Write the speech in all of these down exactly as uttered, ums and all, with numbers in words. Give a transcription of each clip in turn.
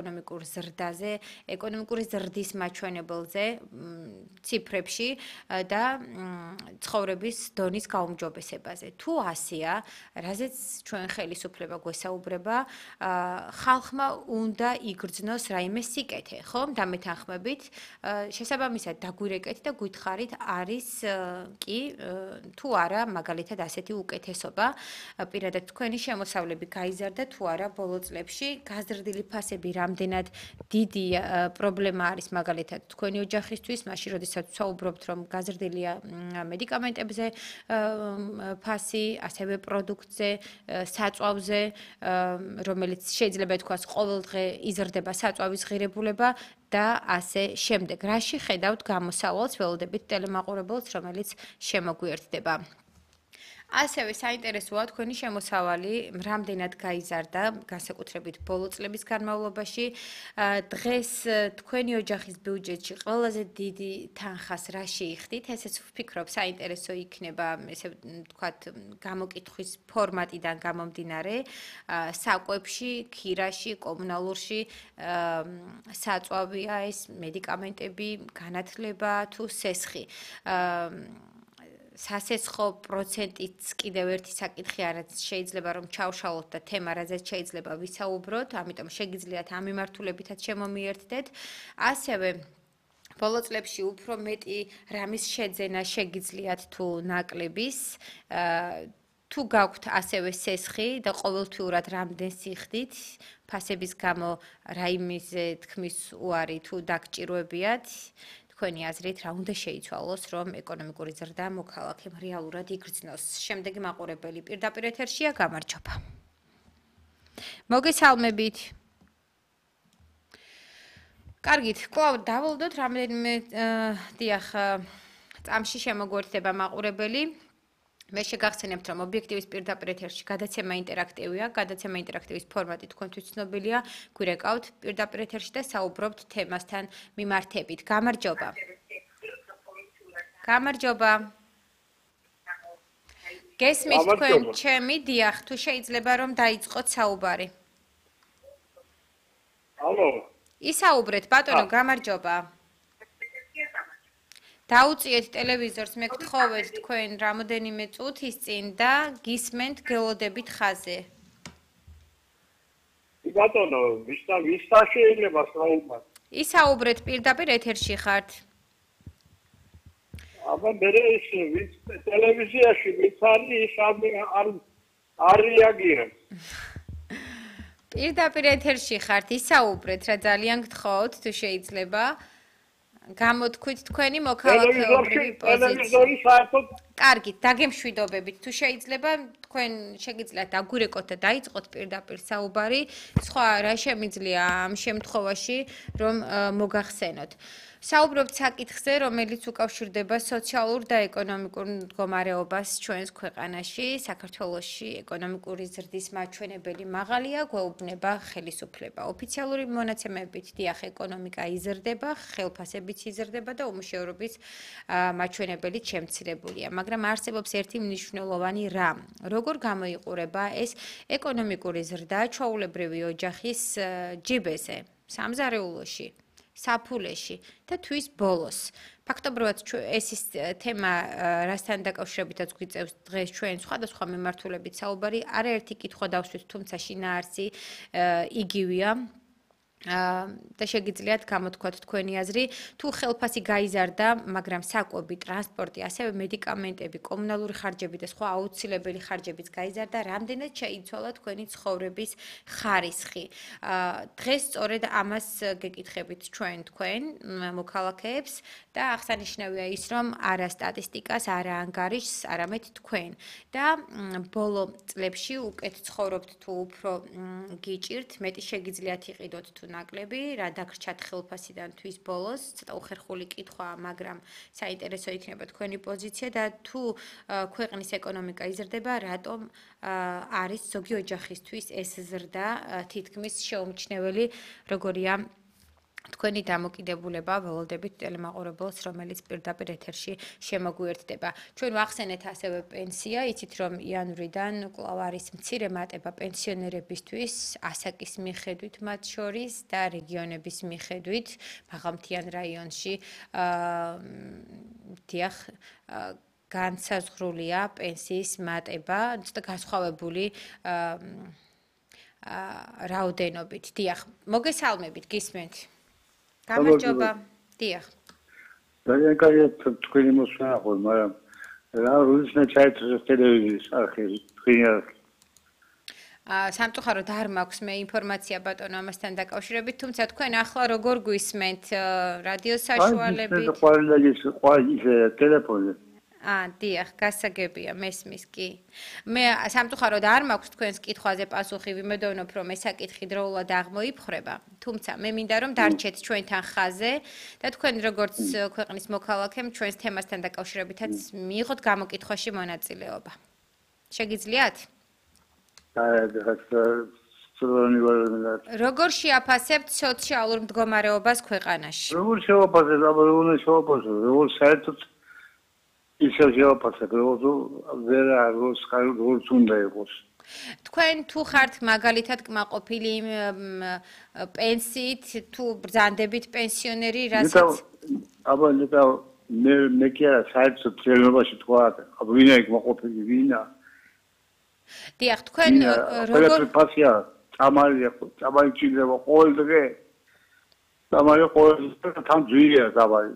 ეკონომიკურ ზრდაზე, ეკონომიკური ზრდის მაჩვენებელზე, ციფრებში და ცხოვრების დონის გაუმჯობესებაზე. თუ ასეა, რაზეც ჩვენ ხელისუფლება გვესაუბრება, ხალხმა უნდა იგრძნოს რაიმე სიკეთე, ხომ? დამეთანხმებით, შესაბამისად დაგვირეკეთ და გითხარით, არის კი თუ არა, მაგალითად ასეთი უკეთესობა, პირადად თქვენი შემოსავლები გაიზარდა თუ არა ბოლო წლებში, გაზრდილი ფასები რამდენად დიდი პრობლემა არის მაგალითად თქვენი ოჯახისთვის, მაშინ როდესაც ვსაუბრობთ, რომ გაზრდილია მედიკამენტებზე ფასი, ასევე პროდუქტზე, საწვავზე, რომელიც შეიძლება ითქვას ყოველდღე იზრდება საწვავის ღირებულება და ასე შემდეგ. რაში ხედავთ გამოსავალს, ველოდებით ტელემაყურებელს, რომელიც შემოგვიერთდება. ასევე საინტერესოა თქვენი შემოსავალი რამდენად გაიზარდა, განსაკუთრებით ბოლო წლების განმავლობაში. დღეს თქვენი ოჯახის ბიუჯეტში ყველაზე დიდი თანხას რა შეიხდით? ესეც ვფიქრობ, საინტერესო იქნება, ესე ვთქვათ, გამოკითხვის ფორმატიდან გამომდინარე, საკვებში, ქირაში, კომუნალურში, საწვავია ეს, მედიკამენტები, განათლება თუ სესხი. სასესხო პროცენტიც კიდევ ერთი საკითხი არის, შეიძლება რომ ჩავშალოთ და თემა რაზეც შეიძლება ვისაუბროთ, ამიტომ შეგიძლიათ ამ მიმართულებითაც შემომიერთდეთ. ასევე ბოლო წლებში უფრო მეტი რამის შეძენა შეგიძლიათ თუ ნაკლების, თუ გაქვთ ასევე სესხი და ყოველთვიურად რამდენს იხდით, ფასების გამო რაიმეზე თქმის უარი თუ დაგჭირვებიათ, თქვენი აზრით რა უნდა შეიცვალოს, რომ ეკონომიკური ზრდა მოქალაქემ რეალურად იგრძნოს. შემდეგი მაყურებელი პირდაპირ ეთერშია, გამარჯობა. მოგესალმებით. კარგით, კვლავ დავალდოთ რამდენიმე დიახ წამში შემოგვერთდება მაყურებელი. მე შეგახსენებთ, რომ ობიექტივის პირდაპირ ეთერში გადაცემა ინტერაქტივია, გადაცემა ინტერაქტივის ფორმატი თქვენთვის ცნობილია, გვირეკავთ პირდაპირ ეთერში და საუბრობთ თემასთან მიმართებით. გამარჯობა. გამარჯობა. გესმით თქვენ ჩემი, დიახ, თუ შეიძლება რომ დაიწყოთ საუბარი. ალო. ისაუბრეთ, ბატონო, გამარჯობა. დაუწიეთ ტელევიზორს, მე გთხოვეთ თქვენ რამოდენიმე წუთის წინ და გისმენთ გელოდებით ხაზე. ბატონო, ვისა ვისა შეიძლება საუბარი? ისაუბრეთ, პირდაპირ ეთერში ხართ. აბა მე ის ვის ტელევიზიაში ვის არის არ არ რეაგირებს. პირდაპირ ეთერში ხართ, ისაუბრეთ, რა ძალიან გთხოვთ, თუ შეიძლება. გამოთქვით თქვენი მოქალაქეობრივი პოზიცია. კარგით, დაგემშვიდობებით. თუ შეიძლება, თქვენ შეგიძლიათ დაგვირეკოთ და დაიწყოთ პირდაპირ საუბარი. სხვა რა შემიძლია ამ შემთხვევაში, რომ მოგახსენოთ. საუბრობთ საკითხზე, რომელიც უკავშირდება სოციალურ და ეკონომიკურ მდგომარეობას ჩვენს ქვეყანაში. საქართველოში ეკონომიკური ზრდის მაჩვენებელი მაღალია, გვეუბნება ხელისუფლება. ოფიციალური მონაცემებით, დიახ, ეკონომიკა იზრდება, ხელფასებიც იზრდება და უმუშევრობის მაჩვენებელიც შემცირებულია. მაგრამ არსებობს ერთი მნიშვნელოვანი რამ. როგორ გამოიყურება ეს ეკონომიკური ზრდა ჩვეულებრივი ოჯახის ჯიბეზე, სამზარეულოში, საფულეში და თვის ბოლოს. ფაქტობრივად ეს ის თემა, რასთან დაკავშირებითაც გვიწევს დღეს ჩვენ სხვადასხვა მიმართულებით საუბარი, არაერთი კითხვა დავსვით, თუმცა შინაარსი იგივეა. და შეგიძლიათ გამოთქვათ თქვენი აზრი, თუ ხელფასი გაიზარდა, მაგრამ საკვები, ტრანსპორტი, ასევე მედიკამენტები, კომუნალური ხარჯები და სხვა აუცილებელი ხარჯებიც გაიზარდა, რამდენად შეიცვალა თქვენი ცხოვრების ხარისხი. დღეს სწორედ ამას გეკითხებით ჩვენ თქვენ მოქალაქეებს და აღსანიშნავია ის, რომ არა სტატისტიკას, არა ანგარიშს, არამედ თქვენ. და ბოლო წლებში უკეთ ცხოვრობთ თუ უფრო გიჭირთ, მეტი შეგიძლიათ იყიდოთ თუ ნაკლები, რა დაგრჩათ ხელფასიდან თვის ბოლოს, ცოტა უხერხული კითხვაა, მაგრამ საინტერესო იქნება თქვენი პოზიცია და თუ ქვეყნის ეკონომიკა იზრდება, რატომ არის ზოგი ოჯახისთვის ეს ზრდა თითქმის შეუმჩნეველი, როგორია თქვენი დამოკიდებულება ველოდებით ტელემაყურებელს, რომელიც პირდაპირ ეთერში შემოგვიერთდება. ჩვენ ვახსენეთ ასევე პენსია, იცით რომ იანვრიდან კვლავ არის მცირე მატება პენსიონერებისთვის, ასაკის მიხედვით მათ შორის და რეგიონების მიხედვით, მაღალმთიან რაიონში დიახ განსაზღვრულია პენსიის მატება, ცოტა განსხვავებული რაოდენობით. დიახ, მოგესალმებით, გისმენთ. გამარჯობა. დიახ. ძალიან კარგი თქვენი მოსვლა ხო, მაგრამ რა რუსნა ჩაიწერეს ტელევიზიის არხი, თქვენი არხი. აა სამწუხაროდ არ მაქვს მე ინფორმაცია ბატონო ამასთან დაკავშირებით, თუმცა თქვენ ახლა როგორ გვისმენთ რადიო საშუალებით? აი, ყველგან ყველა ტელეფონზე. აა, დიახ, გასაგებია, მესმის კი. მე სამწუხაროდ არ მაქვს თქვენს კითხვაზე პასუხი, ვიმედოვნებ, რომ ეს საკითხი დროულად აღმოიფხრება, თუმცა მე მინდა რომ დარჩეთ ჩვენთან ხაზზე და თქვენ როგორც ქვეყნის მოქალაქემ ჩვენს თემასთან დაკავშირებითაც მიიღოთ გამოკითხვაში მონაწილეობა. შეგიძლიათ? როგორ შეაფასებთ სოციალურ მდგომარეობას ქვეყანაში? როგორ შევაფასებ, აბა როგორ შევაფასებ, როგორ საერთოდ ისე შევაფასებ, როგორ ვერ არის როგორც უნდა იყოს. თქვენ თუ ხართ მაგალითად კმაყოფილი პენსიით, თუ ბრძანდებით პენსიონერი, რასაც აბა ნეტა მე მე კი არა საერთოდ ცელებაში თქვა, აბა ვინა კმაყოფილი ვინა? დიახ, თქვენ როგორ ფასია, წამალია, წამალი ჭირდება ყოველდღე. წამალი ყოველდღე თან ძვირია წამალი.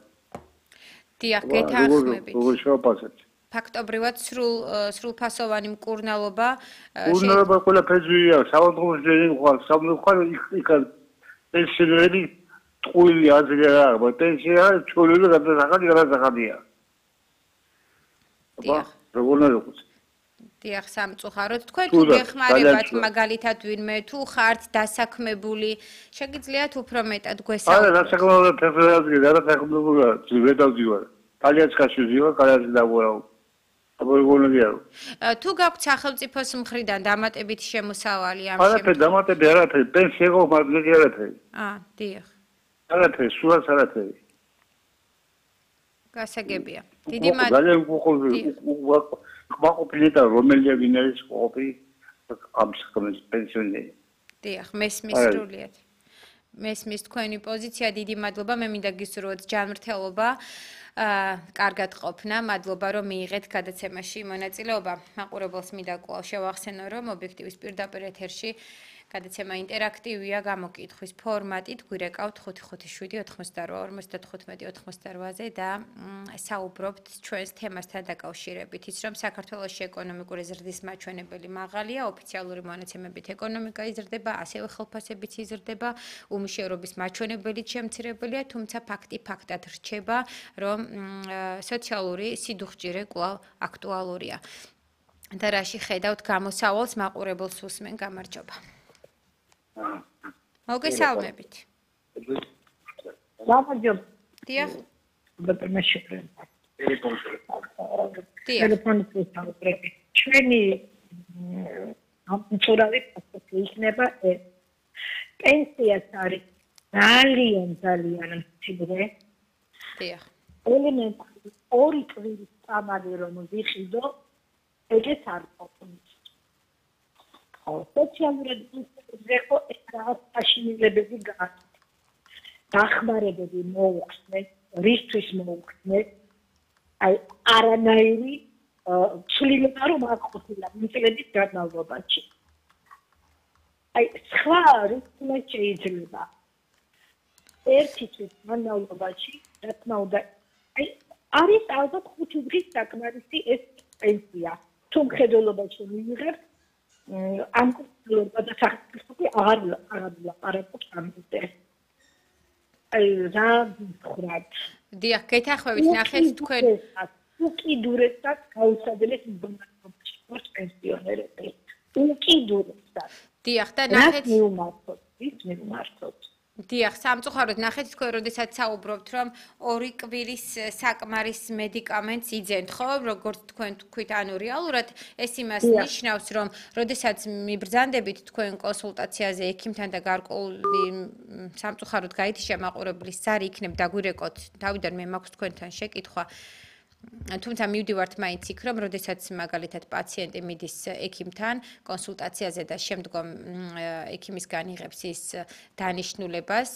დიახ, გეთანხმებით. როგორ შევაფასებთ? ფაქტობრივად სრულ სრულფასოვანი მკურნალობა მკურნალობა ყველაფერს ძვირია, საავადმყოფოს ძვირი ხარ, სამწუხაროდ იქ პენსიონერი ტყუილი აზრი არ აქვს, პენსია ჩოლილი გადასახადი გადასახადია. დიახ. როგორ ნაყოფს? დიახ, სამწუხაროდ თქვენ თუ გეხმარებათ მაგალითად ვინმე თუ ხართ დასაქმებული, შეგიძლიათ უფრო მეტად გვესაუბროთ. არა, დასაქმებული ფერფერაზი, დასაქმებული ვერ დავდივარ. კალიაცკაში ვდივარ, კალიაცი დავურავ. აბა როგორ ნაგიარო? თუ გაქვთ სახელმწიფოს მხრიდან დამატებითი შემოსავალი ამ შემთხვევაში? არაფერი დამატები არაფერი, პენსია ხო მაგარი არაფერი. აა, დიახ. არაფერი, სულაც არაფერი. გასაგებია. დიდი ძალიან უხოლოდ კმაყოფილი და რომელია ვინ არის ყოფილი ამ საქმის პენსიონერი. დიახ, მესმის სრულიად. მესმის თქვენი პოზიცია, დიდი მადლობა, მე მინდა გისურვოთ ჯანმრთელობა, აა, კარგად ყოფნა, მადლობა რომ მიიღეთ გადაცემაში მონაწილეობა. მაყურებელს მინდა კვლავ შევახსენო, რომ ობიექტივის პირდაპირ ეთერში გადაცემა ინტერაქტივია, გამოკითხვის ფორმატით, გვირეკავთ ხუთი ხუთი შვიდი ოთხმოცდარვა ორმოცდათხუთმეტი ოცდაოთხმოცდარვაზე და საუბრობთ ჩვენს თემასთან დაკავშირებით. ის რომ საქართველოში ეკონომიკური ზრდის მაჩვენებელი მაღალია, ოფიციალური მონაცემებით ეკონომიკა იზრდება, ასევე ხელფასებიც იზრდება, უმუშევრობის მაჩვენებელიც შემცირებულია, თუმცა ფაქტი ფაქტად რჩება, რომ სოციალური სიდუხჭირე კვლავ აქტუალურია. და რაში ხედავთ გამოსავალს მაყურებელს უსმენ, გამარჯობა. მოგესალმებით. გამარჯობა. დიახ. ბატონო შეფრენ. დიახ. ტელეფონით ვისაუბრები. ჩვენი ამწურავი ფაქტი იქნება ეს. პენსიას არის ძალიან ძალიან მცირე. დიახ. ელემენტარი ორი წლის წამალი რომ ვიხიდო, ეგეც არ ყოფნის. სოციალურად ზეხო რაღაც აშინელებები გააკეთე. დახმარებები მოუხსნეს, რისთვის მოუხსნეს? აი არანაირი ცვლილება რომ არ ყოფილა წლების განმავლობაში. აი სხვა რითმე შეიძლება. ერთი წლის განმავლობაში, რა თქმა უნდა, აი არის ალბათ ხუთი დღის საკმარისი ეს პენსია. თუ მხედველობაში მიიღებთ ამ კურსზე და სახელმწიფო აღარ აღარ ლაპარაკობს ამაზე. აი რა ვთხრათ? დიახ, გეთანხმებით, ნახეთ თქვენ უკიდურესად გაუსაძლებელს მდგომარეობაში ვართ პენსიონერები. უკიდურესად. დიახ, და ნახეთ მიუმართოთ, ის მიუმართოთ. დიახ, სამწუხაროდ ნახეთ თქვენ, როდესაც საუბრობთ, რომ ორი კვირის საკმარის მედიკამენტს იძენთ, ხო? როგორც თქვენ თქვით, ანუ რეალურად ეს იმას ნიშნავს, რომ როდესაც მიბრძანდებით თქვენ კონსულტაციაზე ექიმთან და გარკვეული სამწუხაროდ გაითიშა მაყურებლის ზარი იქნებ დაგვირეკოთ, თავიდან მე მაქვს თქვენთან შეკითხვა. თუმცა მივდივართ მაინც იქ, რომ როდესაც მაგალითად პაციენტი მიდის ექიმთან კონსულტაციაზე და შემდგომ ექიმისგან იღებს ის დანიშნულებას,